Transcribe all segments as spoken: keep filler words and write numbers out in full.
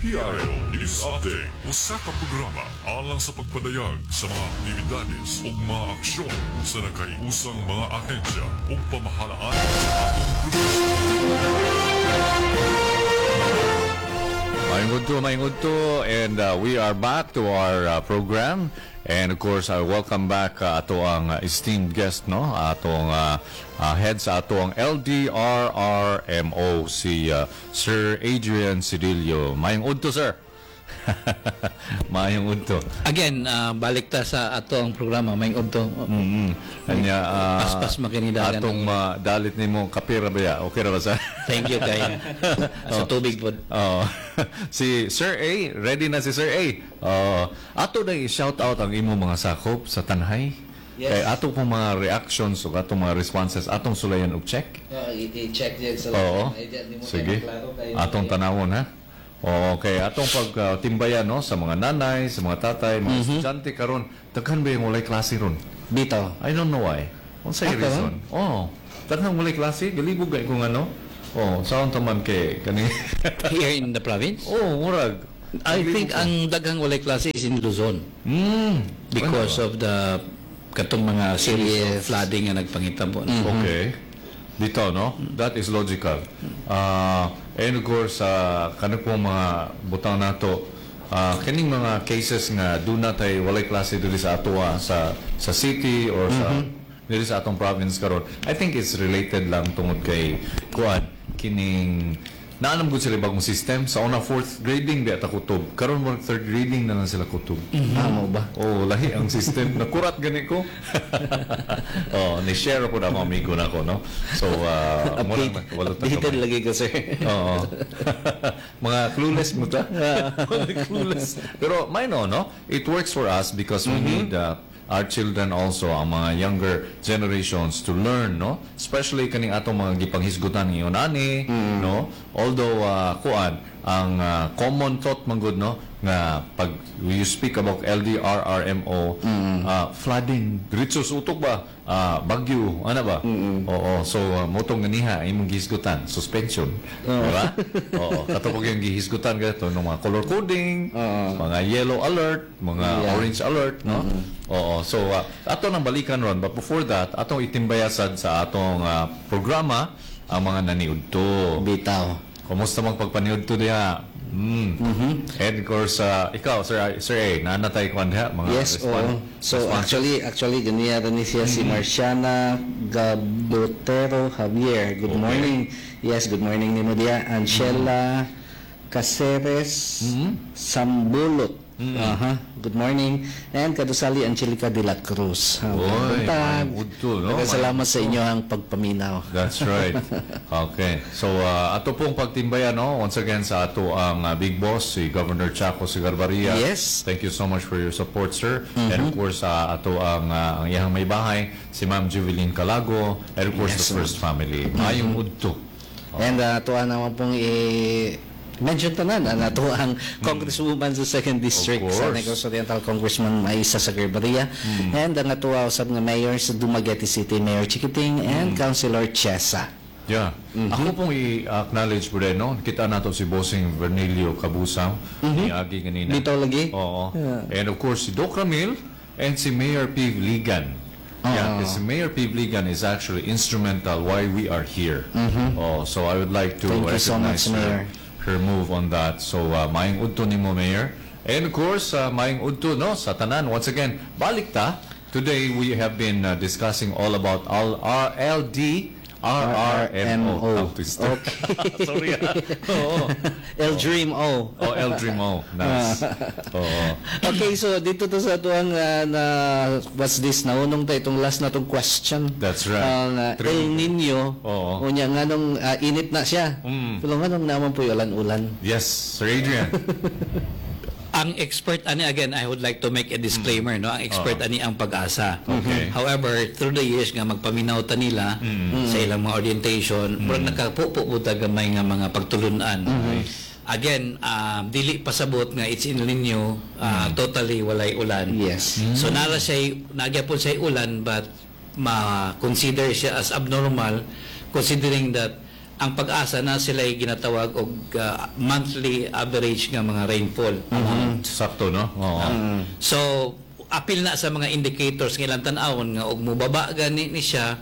P R O News Update. Usa ka programa alang sa pagpadayag sa mga aktibidades ug mga aksyon sa nakahiusang mga ahensya ug pamahalaan sa atong probinsya. Maayong udto, maayong udto, and uh, we are back to our uh, program. And of course, I welcome back uh, ato ang uh, esteemed guest, no? Atong uh, uh, head sa ato ang L D R R M O, si uh, Sir Adrian Cedillo. Maayong udto, sir. Maayong udto. Again, ah, balik ta sa ato ang programa, maayong udto. Mm-hmm. Anya, uh, Paspas makinidagan. Atong uh, dalit nimo kape ra ba ya? Okay ra ba sa? Thank you kay sa tubig po. Oo. Si Sir A, ready na si Sir A. Oo. Ato na i-shout out ang imong mga sakop sa Tanjay. Yes. Kay ato pong mga reactions ug atong mga responses atong sulayan og check. Oh, i-check diyan sa Oo. Sige. Atong tanawon ha. Okay, atong pagtimbayan, no, sa mga nanay, sa mga tatay, mga estudyante karon, daghan ba yung walay klase ron? Bitaw. I don't know why. Unsay Ah, reason? Oh, daghan walay klase, galibog kay kung ano. Oh, saon ta man kay kani? Here in the province? Oh, murag. I think ang daghang walay klase is in Luzon Mm. because of the katong mga series of Yes. flooding nga nagpangitabo. Okay. Dito, no? That is logical. Uh, and of course, uh, kano po mga butang nato, uh, kining mga cases nga duna tay walay klase diri sa atoa sa sa city or sa diri sa atong province karon. I think it's related lang tungod kay kuan kining naalam gud sila bagong system. Sa una, fourth grading biya ta kutob, karon mo third grading na lang sila kutob. Amo ba? Oh, lahi ang system. Nakurat gani ko. Oh, ni-share ko na ako amigo na ko, no? So, uh, mo Update, lang walo ta updated kamay. lagi ko, sir. Oo. Mga clueless mo ta. Mga clueless. Pero may no, no? It works for us because we need uh, our children also, ang mga younger generations to learn, no? Especially kaning atong mga gipanghisgutan ngayon ani, no? Although uh, kuan, ang uh, common thought man gud, no, nga pag you speak about L D R R M O, uh, flooding, diretso sa utok ba? Ah, bagyo, ano ba? Oo, so uh, motong ganiha imong gihisgutan, suspension, di ba? Oo, kato pag yung gihisgutan gato ng mga color coding, mga yellow alert, mga Yeah. orange alert, no? Oo, so uh, ato nang balikan ron, but before that, atong itimbayasad sa atong uh, programa ang mga naniudto. Bitaw. Kumusta mang pagpaniudto diha? Mm. And of course, uh, ikaw, Sir, Sir A, naanatay ko diha, mga Yes, respon- oo. So responses? actually, actually ganiya ni siya si Marciana Gabotero Javier. Good Okay. morning. Yes, good morning nimo diya. Angela Caceres Sambulot. Aha. Good morning. And Kadusali Angelica de la Cruz. Ah, Oy, buntag. maayong udto, no? Daghang salamat sa inyo ang pagpaminaw. That's right. Okay. So, uh, ato pong pagtimbayan, no? Once again, sa ato ang uh, big boss, si Governor Chaco Sagarbarria. Yes. Thank you so much for your support, sir. And of course, uh, ato ang, uh, ang iyang may bahay, si Ma'am Juveline Calago, and of course, Yes, the First Family. Maayong udto. And uh, tuwa naman pong i mention tanan ang ato ang congresswoman sa second district Of sa course. Negros Oriental, Congressman Maisa Sagarbarria, and ang atuwa usab nga mayor sa Dumaguete City, Mayor Chiquiting and Councilor Chesa. Yeah. Ako pong i-acknowledge po rin, no? Kita nato si Bossing Vernilio Cabusao, ni Agi kanina. Dito lagi? Oo. And of course, si Doc Ramil and si Mayor P. Ligan. Yeah, because Mayor P. Ligan is actually instrumental why we are here. Oh, so I would like to Thank you so recognize much, her, Mayor. Her move on that. So, uh, maayong udto nimo, Mayor. And of course, uh, maayong udto, no, sa tanan. Once again, balik ta. Today, we have been uh, discussing all about all R L D R R M O. Tongue twister. Okay. Sorry. ah. Oo. El Dream O. Oh, El Dream O. Nice. Oo. Okay, so dito to sa atuang uh, na what's this, naunong ta itong last na tong question. That's right. Ang uh, Three. El Nino. Oo. Unya nganong uh, init na siya. Mm. Pero nganong naman po ulan-ulan? Yes, Sir Adrian. Ang expert ani, again, I would like to make a disclaimer, no, ang expert ani ang PAGASA. Okay. However, through the years nga magpaminaw ta nila sa ilang mga orientation, murag nakapupo po ta gamay nga mga pagtulunan. Again, um, dili pasabot nga it's El Nino, uh, totally walay ulan. Yes. So nara siya nagyapon siya ulan, but ma-consider siya as abnormal considering that ang PAGASA na sila ginatawag og uh, monthly average nga mga rainfall amount. Sakto, no? Oo. So apil na sa mga indicators nga ilang tan-awon nga og mobaba gani ni siya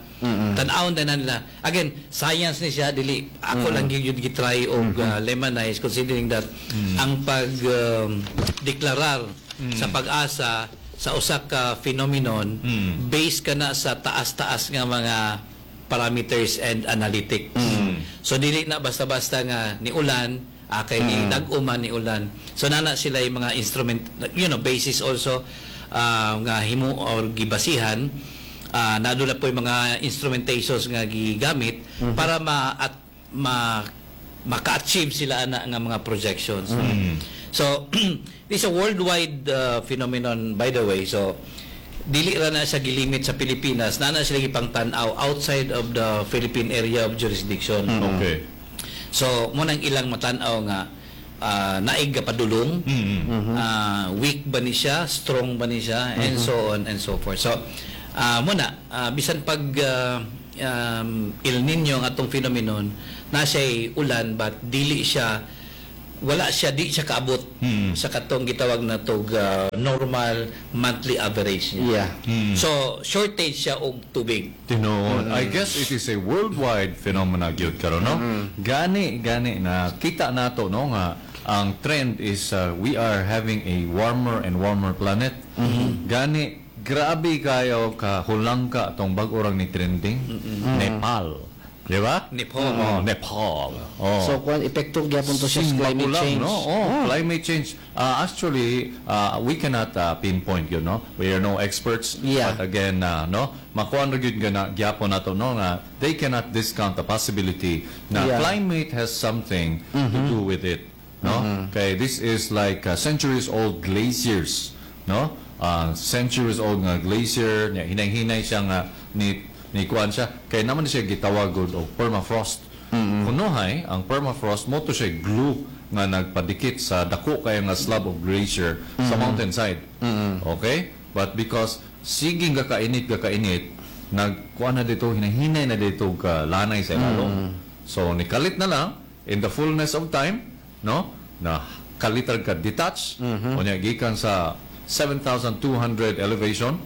tan-awon na nila again science ni siya dili ako lang gyud gitry og uh, lemonize considering that ang pag um, deklarar sa PAGASA sa usa ka phenomenon based ka na sa taas-taas nga mga parameters and analytics so dili na basta-basta nga ni ulan ah, kay ni dag-uman ni ulan so nana sila yung mga instrument you know basis also ah, nga himo or gibasihan uh, nadula po yung mga instrumentations nga gigamit para ma at ma maka-achieve sila ana nga mga projections so this is a worldwide uh, phenomenon by the way so dili ra na siya gilimit sa Pilipinas na na sila gipangtan-aw outside of the Philippine area of jurisdiction Okay. So, mo nang ilang matan-aw nga ah, naig ga padulong, ah, weak ba ni siya, strong ba ni siya, and so on and so forth. So, ah mo na, ah, bisan pag ah, um, El Nino ang atong phenomenon, na siya'y ulan but dili siya wala siya di siya kaabot sa katong gitawag na tog ah, normal monthly average niya. Yeah. So, shortage siya og tubig. Tinuod. I guess it is a worldwide phenomena gyud karon no. Gani gani na kita nato no nga ang trend is uh, we are having a warmer and warmer planet. Gani grabe kayo ka hulangka tong bag-o rang ni trending Nepal. Di ba? Nepal. Oh, Nepal. Oh. So kuan epekto gyapon to siya sa climate Simba change. No? Oh, climate change. Uh, actually, uh, we cannot uh, pinpoint yun, no? We are no experts. Yeah. But again, uh, no, makuan ra gyud nga na gyapon nato no nga they cannot discount the possibility na Yeah. climate has something to do with it, no? Okay, this is like uh, centuries old glaciers, no? Uh, centuries old nga glacier, nya hinay-hinay siya nga ni ni kuan siya kay naman siya gitawag og og permafrost. Kunohay, ang permafrost mo to siya glue nga nagpadikit sa dako kay nga slab of glacier sa mountainside. Okay? But because siging ga kainit ga kainit, nagkuan na dito hinahinay na dito ka lanay sa ilalong. So nikalit na lang in the fullness of time, no? Na kalitar ka detach, unya gikan sa seven thousand two hundred elevation.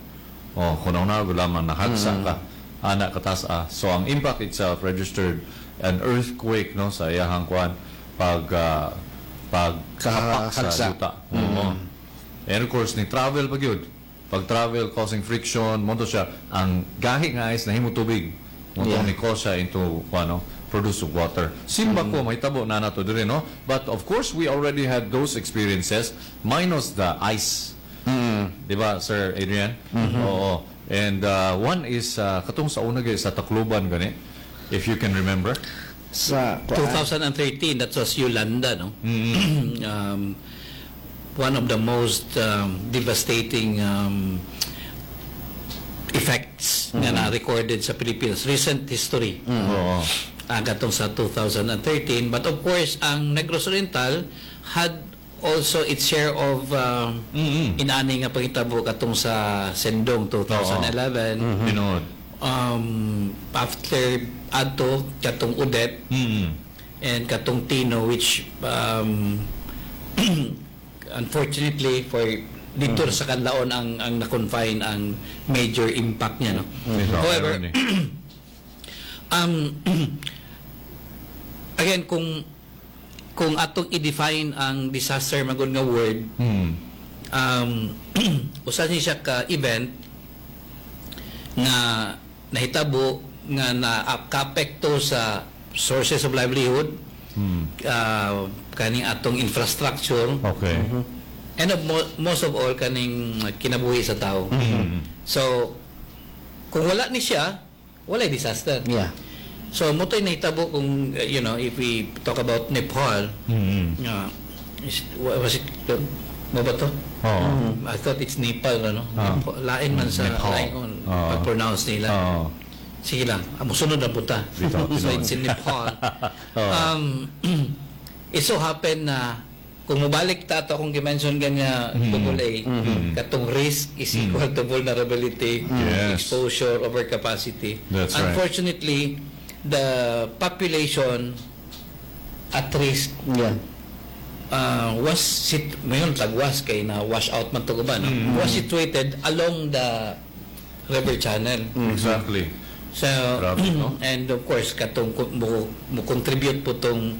Oh, kunaw na lamang nahagsa ka ana katas ah. So ang impact itself registered an earthquake no sa iyahang kuan pag ah, pag kahapak sa Kahagsa. yuta. Oo. And of course ni travel pa gyud. Pag travel causing friction, mo to siya ang gahi nga ice nahimo tubig. Mo to Yeah. ni cause siya into kuan no, produce of water. Simba ko may tabo na nato diri no. But of course we already had those experiences minus the ice. Di ba, Sir Adrian? Oo. And uh, one is uh, katong sa una gyud sa Tacloban gani, if you can remember. Sa kuan twenty thirteen, that was Yolanda, no? um, one of the most um, devastating um, effects nga na-recorded sa Pilipinas, recent history. Oo. Ah, katong sa twenty thirteen. But of course, ang Negros Oriental had also its share of um, Mm-mm. inani nga pangitabo katong sa Sendong twenty eleven. Tinuod. Um, after adto katong Odette Mm. and katong Tino which um, unfortunately for dito sa Kanlaon ang ang na-confine ang major impact niya no. Ito, However, irony. um again kung kung atong i-define ang disaster magud nga word Mm. um usa ni siya ka event nga nahitabo nga na kaapekto sa sources of livelihood Mm. uh, kaning atong infrastructure Okay. and of mo- most of all kaning kinabuhi sa tao Mm. so kung wala ni siya wala disaster Yeah. so mo to'y nahitabo kung uh, you know if we talk about Nepal Mm. uh, is, wa- was it mo ba to Oo. I thought it's Nepal ano Ah. Nepal. Lain man sa Nepal. lain on Oo. pag-pronounce nila Oo. sige lang ah, musunod na punta Bitaw, so tinuod. it's in Nepal Oo. um, it so happen na kung mubalik ta ato akong gi-mention ganya Mm. Google A katong risk is equal to vulnerability Yes. exposure over capacity That's right. unfortunately the population at risk Yeah. uh, was sit mayon tagwas kay na wash out man to ba no? Was situated along the river channel. Exactly. So Grabe, no? and of course katong ko- mo, mo contribute po tong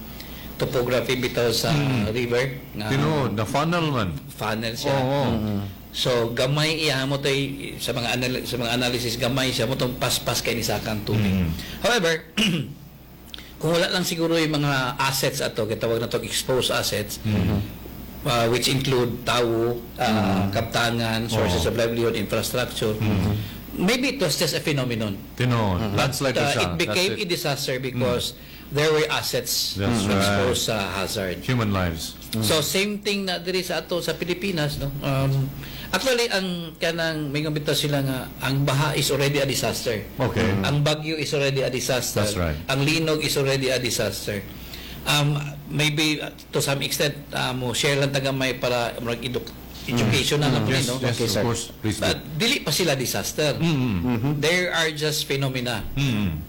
topography bitaw sa river nga Tinuod, na funnel man. funnel siya. Oo. So gamay iya mo tay sa mga anal- sa mga analysis gamay siya mo tong paspas kay ni sakang tubig. However, kung wala lang siguro yung mga assets ato gitawag na to exposed assets uh, which include tawo, uh, kaptangan, sources of livelihood, infrastructure. Maybe it was just a phenomenon. Tinuod. Landslide Uh, na siya. it became That's a it. disaster because there were assets That's right. exposed sa hazard. Human lives. So same thing na diri sa ato sa Pilipinas no. Um, actually ang kanang may bitaw sila nga ang baha is already a disaster. Okay. Ang bagyo is already a disaster. That's right. Ang linog is already a disaster. Um, maybe uh, to some extent uh, mo share lang ta gamay para murag edu- educational lang po Yes, no. yes, Okay, of sir. course. Please do. But dili pa sila disaster. There are just phenomena. Mm.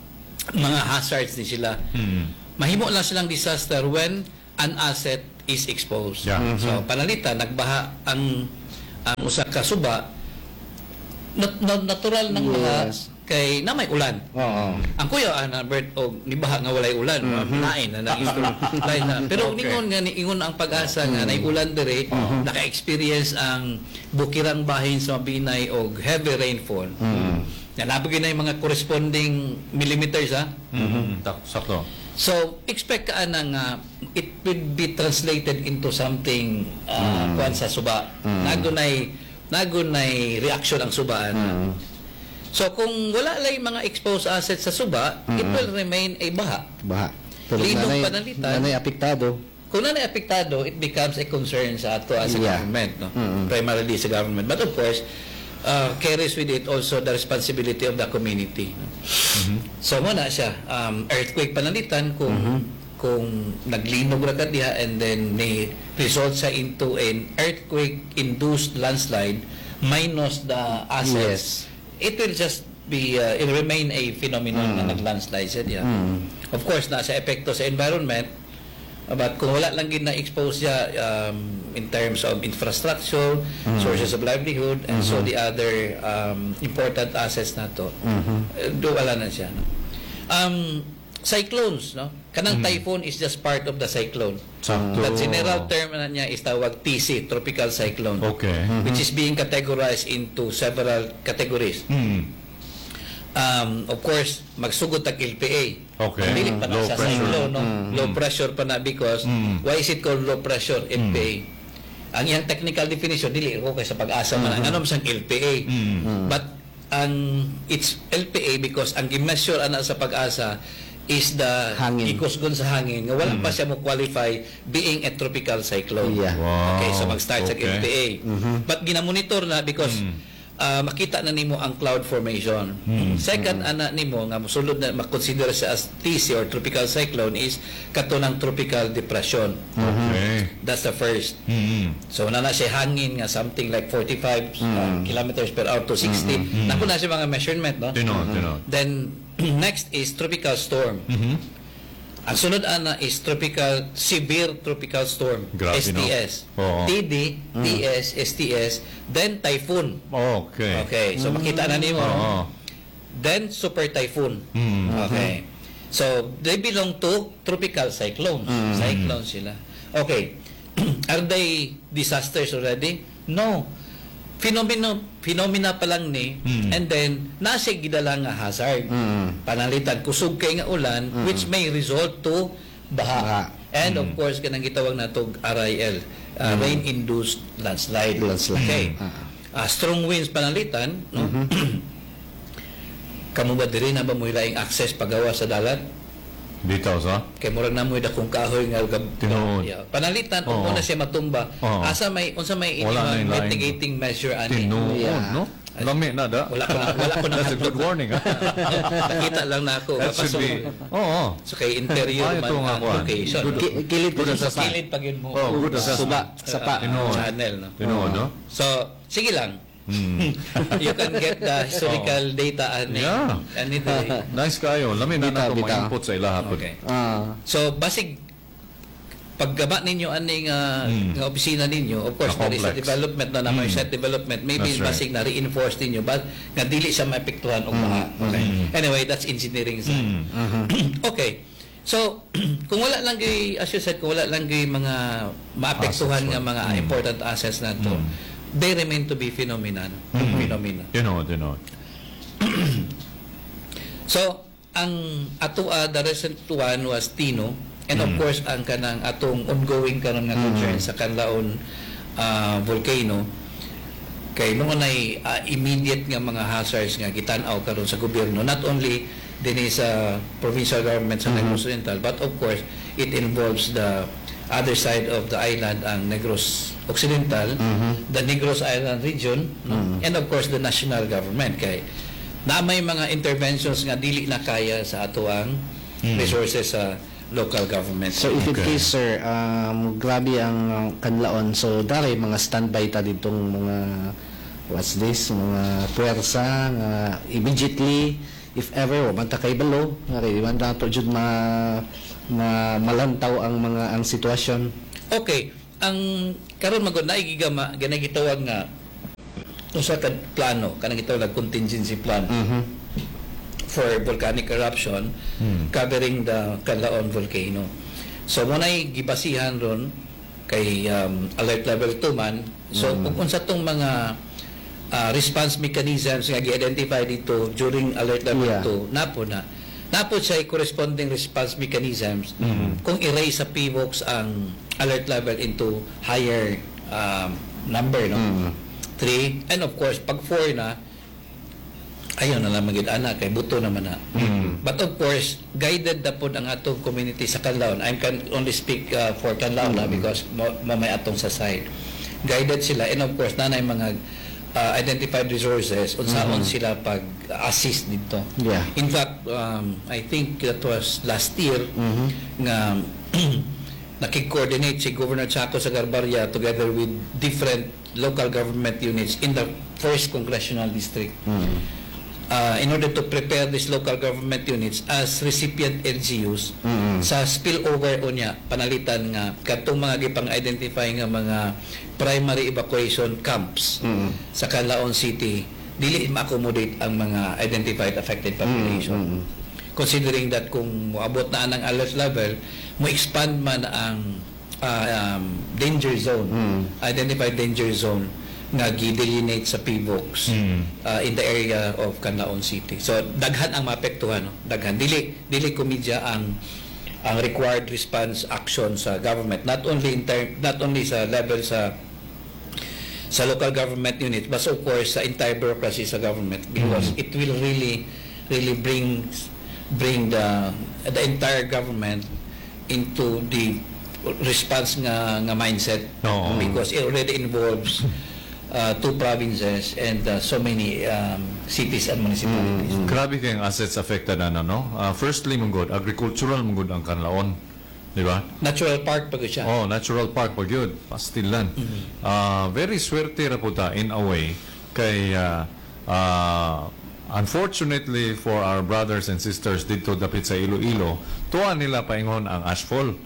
Mga hazards ni sila. Mm. Mahimo lang silang disaster when an asset is exposed. Yeah. So panalita nagbaha ang ang usa ka suba nat, nat- natural ng baha Yes. kay na may ulan. Oo. Ang kuya ana Bert og nibaha nga walay ulan, lain na nang lain na. Pero Okay. ningon nga niingon ang PAGASA nga nay ulan dire, naka-experience ang bukirang bahin sa Mabinay og heavy rainfall. Na nabigay na yung mga corresponding millimeters ha. Mm. Tak- Sakto. So, expect ka na nga it will be translated into something uh, kuan sa suba. Nagunay nagunay reaction ang suba ana. So, kung wala lang yung mga exposed assets sa suba, it will remain a baha. Baha. Pero Linog nanay, panalitan. nanay apektado. Kung nanay apektado, it becomes a concern sa ato as a Yeah. government, no? Primarily sa government. But of course, uh, carries with it also the responsibility of the community. No? So mo na siya, um, earthquake panalitan kung kung naglinog ra ka diha and then ni result siya into an earthquake induced landslide minus the assets. It will just be uh, it remain a phenomenon na nag-landslide siya diha. Of course, nasa epekto sa environment, but kung wala lang gid na-expose siya um, in terms of infrastructure, sources of livelihood, and so the other um, important assets nato, eh, do wala na siya. No? Um, cyclones, no? Kanang typhoon is just part of the cyclone. Sakto. The general term na niya is tawag TC, tropical cyclone. Okay. Which is being categorized into several categories. Mm. Um, of course, magsugod tag LPA. Okay. Dili pa na Low sa pressure. cyclone, no? Low pressure pa na because why is it called low pressure LPA? Ang iyang technical definition dili ko kay sa PAGASA man ang ano siyang LPA. But ang it's LPA because ang gi-measure ana sa PAGASA is the Hangin. ikusgon sa hangin nga wala pa siya mo qualify being a tropical cyclone. Yeah. Wow. Okay, so mag-start sa Okay. LPA. But ginamonitor na because ah, makita na nimo ang cloud formation. Second, ana nimo nga mosulod na makonsider siya as TC or tropical cyclone is kato ng tropical depression. Okay. That's the first. Mm. So na na siya hangin nga something like forty-five uh, kilometers per hour to sixty. Naku na siya mga measurement, no? Tinuod, tinuod. Then next is tropical storm. Mhm. Ang sunod ana is tropical severe tropical storm, Grabe, no? STS. Oo. TD, TS, STS, then typhoon. Okay. Okay, so makita na nimo. Oo. Then super typhoon. Mm. Okay. So they belong to tropical cyclones. Cyclones sila. Okay. Are they disasters already? No. Phenomena phenomena pa lang ni Mm. and then nasa gidala nga hazard. Panalitan kusog kay nga ulan which may result to baha. Baha. And of course kanang gitawag natog RIL, uh, rain induced landslide. Landslide. Okay. Ah. Ah, strong winds panalitan, no? Kamo ba diri na ba mo laing access pagawa sa dalan? Dito sa? Kay murag na mo'y dakong kahoy nga gab Tinuod. Yeah. Panalitan Oo. ug na siya matumba. Oo. Asa may unsa may Wala na inyong yung laing. mitigating measure ani? Tinuod, Yeah. no? Lami na da. Wala ko na wala ko na That's a good warning. ah. Nakita lang na ako. That should be. Oo. So kay interior Ay, man ito nga ang kuwan. location. Good. Ki- Kilid Good ko sa assessment. Kilid pag yun mo. Oh, good assessment. Suba, sapa. Tinuod. Channel, no? Tinuod, no? So, sige lang. You can get the historical data ani Yeah. ani diri. Nice kayo. Lami na Bitaw, nato bitaw. ma-input sa ilaha pod. Okay. Ah. So basig paggaba ninyo aning uh, nga opisina ninyo, of course Na there is a complex. development na naman set development, maybe That's right. basig na reinforce ninyo but nga dili siya maepektuhan og baha. Okay. Anyway, that's engineering side. Okay. So, kung wala lang gyud, as you said, kung wala lang gyud mga maapektuhan Assets, nga mga important assets nato, they remain to be phenomenon. Phenomena. You know, you know. So, ang ato uh, the recent one was Tino and of course ang kanang atong ongoing karon nga concern sa Kanlaon uh, volcano kay mao nay uh, immediate nga mga hazards nga gitan-aw karon sa gobyerno not only dinhi sa provincial government sa Negros Oriental but of course it involves the other side of the island ang Negros Occidental the Negros Island region no? and of course the national government kay na may mga interventions nga dili na kaya sa ato ang resources sa local government So if in Okay. case sir, um, grabe ang uh, kanlaon. So dali mga standby ta ditong mga what's this, mga puwersa nga immediately if ever wa man ta kay balo, nga kay man nato jud ma, ma malantaw ang mga ang sitwasyon. Okay, ang karon magod na gigama ganay gitawag nga usa ka plano kanang gitawag nga contingency plan for volcanic eruption covering the Kanlaon volcano. So mo nay gibasihan ron kay um, alert level two man. So kung unsa tong mga uh, response mechanisms nga gi-identify dito during alert level Yeah. two napo na. Napo siya corresponding response mechanisms kung i-raise sa PHIVOLCS ang alert level into higher um, number no. Three and of course pag four na ayaw na lang magid ana kay buto naman na. But of course, guided na pod ang atong community sa Canlaon. I can only speak uh, for Canlaon na because mo, mo may atong sa side. Guided sila and of course nanay mga uh, identified resources unsaon sila pag assist dito. Yeah. In fact, um, I think that was last year nga nakik-coordinate si Governor Chaco Sagarbarria together with different local government units in the first congressional district uh, in order to prepare these local government units as recipient LGUs sa spillover unya panalitan nga kadtong mga gipang-identify nga mga primary evacuation camps sa Canlaon City dili ma-accommodate ang mga identified affected population considering that kung moabot na ang alert level mo expand man ang uh, um, danger zone identified danger zone nga gi-delineate sa PHIVOLCS uh, in the area of Canlaon City. So daghan ang maapektuhan, no? Daghan dili dili komedya ang ang required response action sa government not only in term, not only sa level sa sa local government unit but of course sa entire bureaucracy sa government because it will really really bring bring the the entire government into the response nga nga mindset Oo. because it already involves uh, two provinces and uh, so many um, cities and municipalities. Grabe kayong assets affected na no? Uh, firstly, mong agricultural mong ang Kanlaon. Di ba? Natural park pa siya. Oh, natural park pag yun. Pastilan. Ah, very swerte ra po ta in a way kay ah, ah, unfortunately for our brothers and sisters dito dapit sa Iloilo, tuwa nila paingon ang ashfall.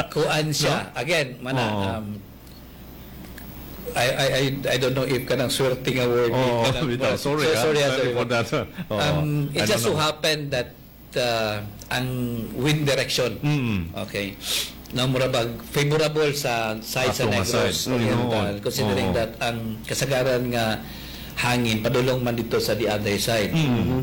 Kuan siya. Again, mana Oo. um, I, I I I don't know if kanang swerte nga word. Oh, kanang- bitaw. sorry, So, ah. sorry, ah, sorry sorry. for that. Oo. Um, it I just don't so know. happened that uh, ang wind direction. Mm. Okay. Na mura bag favorable sa side sa Ato nga Negros side. Oriental Mm. considering Oo. that ang kasagaran nga hangin padulong man dito sa the other side.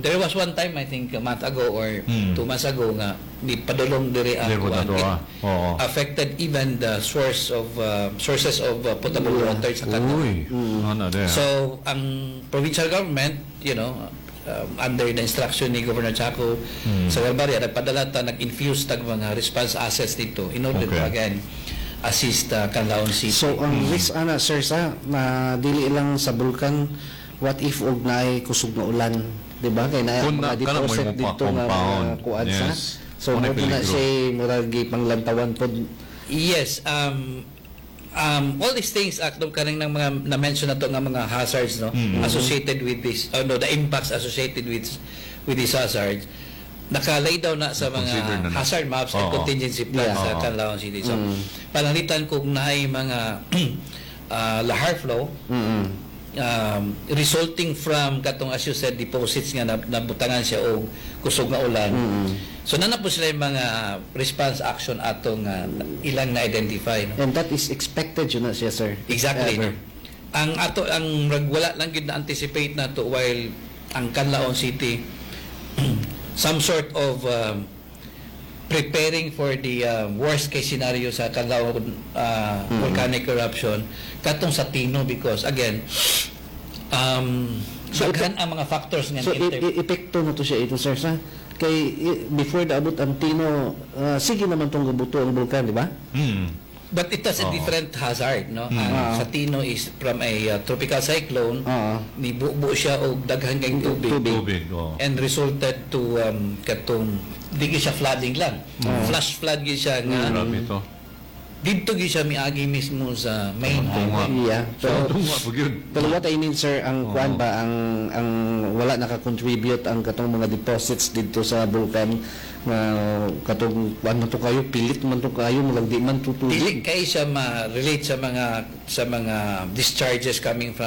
There was one time I think a month ago or Mm. two months ago nga ni padulong diri ang Diri po kuan. na to, It ah. Oo. affected even the source of uh, sources of uh, potable water sa kanto. Uy, ano there. So, ang provincial government, you know, um, under the instruction ni Governor Chaco Hmm. Sagarbarria, nagpadala ta, nag-infuse tag mga response assets dito in order to Okay. again assist uh, Canlaon City. So ang risk ana sir sa na dili lang sa bulkan what if og naay kusog nga ulan, di ba? Kay naay Kung mga na- kana mo deposit yung dito nga mga compound. kuan sa. Yes. So Mo na mo na peligro. siya murag gipanglantawan pod Yes, um, um, all these things atong kanang ng mga na-mention na to nga mga hazards no associated with this oh, no the impacts associated with with these hazards naka-lay down na sa mga Consider na na. hazard maps and Oo. contingency plans Yeah. sa Oo. Canlaon City. So, pananglitan kung naay mga uh, lahar flow Mm-mm. um, resulting from katong as you said deposits nga nab- nabutangan siya og kusog nga ulan. So naa na po sila yung mga response action atong uh, ilang na-identify no? And that is expected yun na siya, sir. Exactly. Ever. No? Ang ato ang rag- wala lang gyud na anticipate na to while ang Canlaon City some sort of um, preparing for the um, worst case scenario sa Canlaon uh, volcanic eruption katong sa Tino because again um So, daghan ang mga factors nga So, i- inter- i- epekto na to siya ito, sir, sa kay i- before naabot ang Tino, ah, sige naman tong gabuto ang bulkan, di ba? Mm. But it has a Oo. different hazard, no? Ang Ah. sa Tino is from a uh, tropical cyclone, Oo. nibubo siya og daghan kayong tubig. Tubig. Tubig, oh. And resulted to um, katong di gyud siya flooding lang. Flash flood gyud siya nga Grabe ito. didto gyud siya miagi mismo sa main Tunga. highway. Yeah. Pero, Tunga po yun. pero what I mean, sir, ang Oo. kuan ba, ang, ang wala naka-contribute ang katong mga deposits dito sa bulkan nga katong kuan man to kayo, pilit man to kayo, mulag di man Dili tutubig. kay siya ma-relate sa mga sa mga discharges coming from